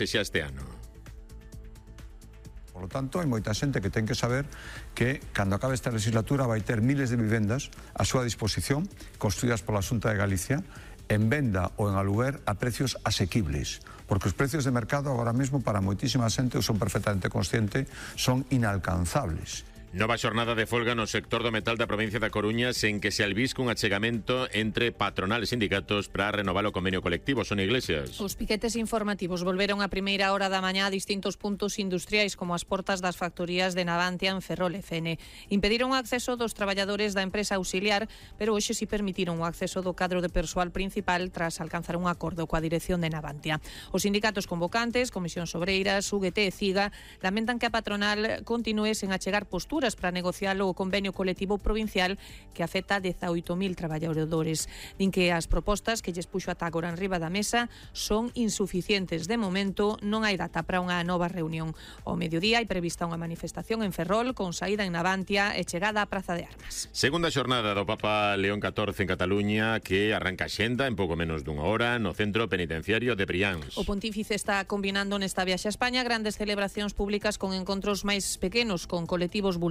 e xa este ano. Por lo tanto, hai moita xente que ten que saber que cando acabe esta legislatura vai ter miles de vivendas a súa disposición, construídas pola Xunta de Galicia, en venda ou en aluguer a precios asequibles, porque os precios de mercado agora mesmo para moitísima xente, eu son perfectamente consciente, son inalcanzables. Nova xornada de folga no sector do metal da provincia da Coruña sen que se albisque un achegamento entre patronal e sindicatos para renovar o convenio colectivo. Son Iglesias. Os piquetes informativos volveron a primeira hora da mañá a distintos puntos industriais como as portas das factorías de Navantia en Ferrol e Fene. Impediron o acceso dos traballadores da empresa auxiliar, pero hoxe si permitiron o acceso do cadro de persoal principal tras alcanzar un acordo coa dirección de Navantia. Os sindicatos convocantes, Comisións Obreiras, UGT e CIGA, lamentan que a patronal continúe sen achegar posturas para negociar o convenio colectivo provincial que afecta a 18.000 traballadores. Din que as propostas que lles puxo ata agora en riba da mesa son insuficientes. De momento non hai data para unha nova reunión. Ao mediodía hai prevista unha manifestación en Ferrol con saída en Navantia e chegada á Praza de Armas. Segunda xornada do Papa León XIV en Cataluña que arranca a xenda en pouco menos dunha hora no centro penitenciario de Brians. O pontífice está combinando nesta viaxe a España grandes celebracións públicas con encontros máis pequenos con colectivos vulnerables.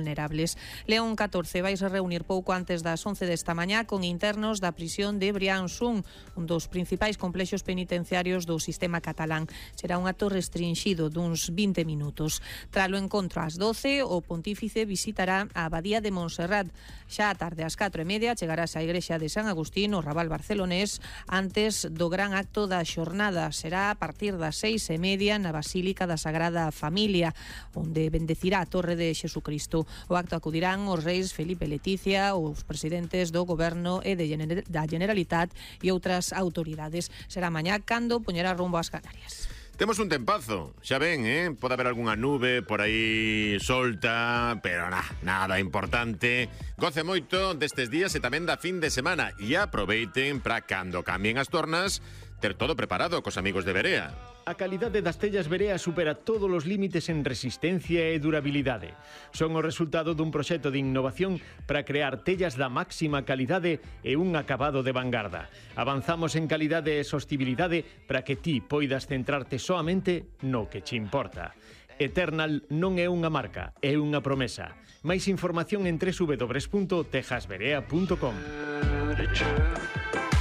León XIV vai se reunir pouco antes das 11 desta mañá con internos da prisión de Brians 1, un dos principais complexos penitenciarios do sistema catalán. Será un acto restringido duns 20 minutos. Tralo encontro ás 12, o pontífice visitará a Abadía de Montserrat. Xa a tarde ás 4:30 chegarás á igrexa de San Agustín, o Raval barcelonés, antes do gran acto da xornada. Será a partir das 6:30 na Basílica da Sagrada Familia, onde bendecirá a Torre de Xesucristo. O acto acudirán os reis Felipe e Leticia, os presidentes do Goberno e da Generalitat e outras autoridades. Será mañá cando poñerá rumbo ás Canarias. Temos un tempazo, xa ven, pode haber algunha nube por aí solta, pero nada importante. Goce moito destes días e tamén da fin de semana e aproveiten para cando cambien as tornas ter todo preparado cos amigos de Berea. A calidade das tellas Berea supera todos os límites en resistencia e durabilidade. Son o resultado dun proxecto de innovación para crear tellas da máxima calidade e un acabado de vanguarda. Avanzamos en calidade e sostibilidade para que ti poidas centrarte soamente no que che importa. Eternal non é unha marca, é unha promesa. Máis información en www.tejasberea.com.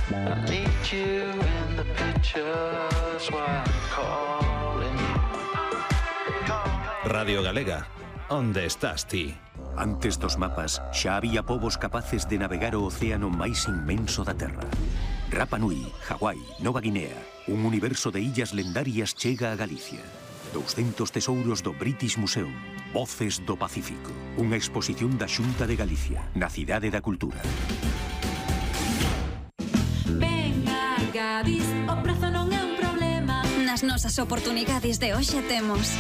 I need you in the pictures while I'm calling you. Radio Galega, onde estás ti? Antes dos mapas, xa había povos capaces de navegar o océano máis inmenso da Terra. Rapa Nui, Hawái, Nova Guinea, un universo de illas lendarias chega a Galicia. 200 tesouros do British Museum, Voces do Pacífico. Unha exposición da Xunta de Galicia, na Cidade da Cultura. Gadis, o prezo non é un problema. Nas nosas oportunidades de hoxe temos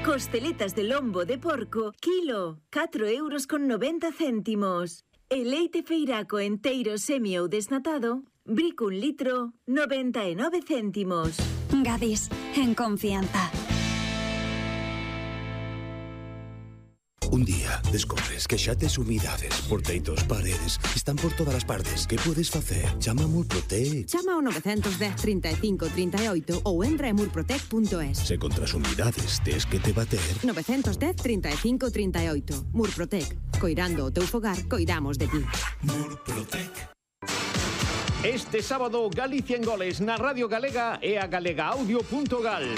costeletas de lombo de porco, kilo, 4,90 €. E leite feiraco enteiro semi ou desnatado, brico 1 litro, 99 céntimos. Gadis, en confianza. Un día descobres que xa tes humidades por teitos, paredes, están por todas as partes. Que podes facer? Chama a Murprotec. Chama ao 910 35 38 ou entra en murprotec.es. Se contra as humidades tes que te bater. 910 35 38. Murprotec. Coirando o teu fogar, coidamos de ti. Murprotec. Este sábado, Galicia en Goles na Radio Galega e a galegaaudio.gal.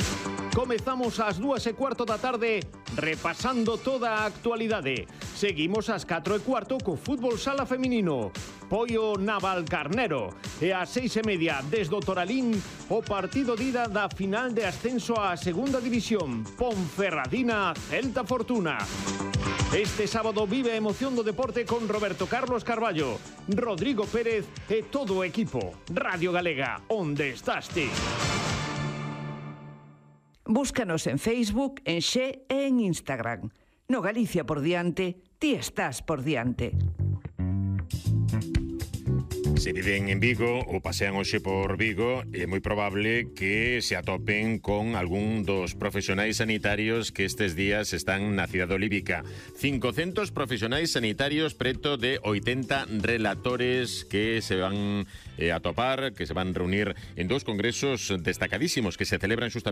Comezamos ás 2:15 da tarde repasando toda a actualidade. Seguimos ás 4:15 co fútbol sala feminino. Poio Navalcarnero. E ás 6:30 desde o Toralín o partido de ida da final de ascenso á segunda división. Ponferradina Celta Fortuna. Este sábado vive a emoción do deporte con Roberto Carlos Carballo, Rodrigo Pérez e todo o equipo. Radio Galega, onde estás ti? Búscanos en Facebook, en Xe e en Instagram. No Galicia por diante, ti estás por diante. Se viven en Vigo ou pasean hoxe por Vigo, é moi probable que se atopen con algún dos profesionais sanitarios que estes días están na cidade olívica. 500 profesionais sanitarios, preto de 80 relatores que se van a topar, que se van reunir en dous congresos destacadísimos que se celebran xustamente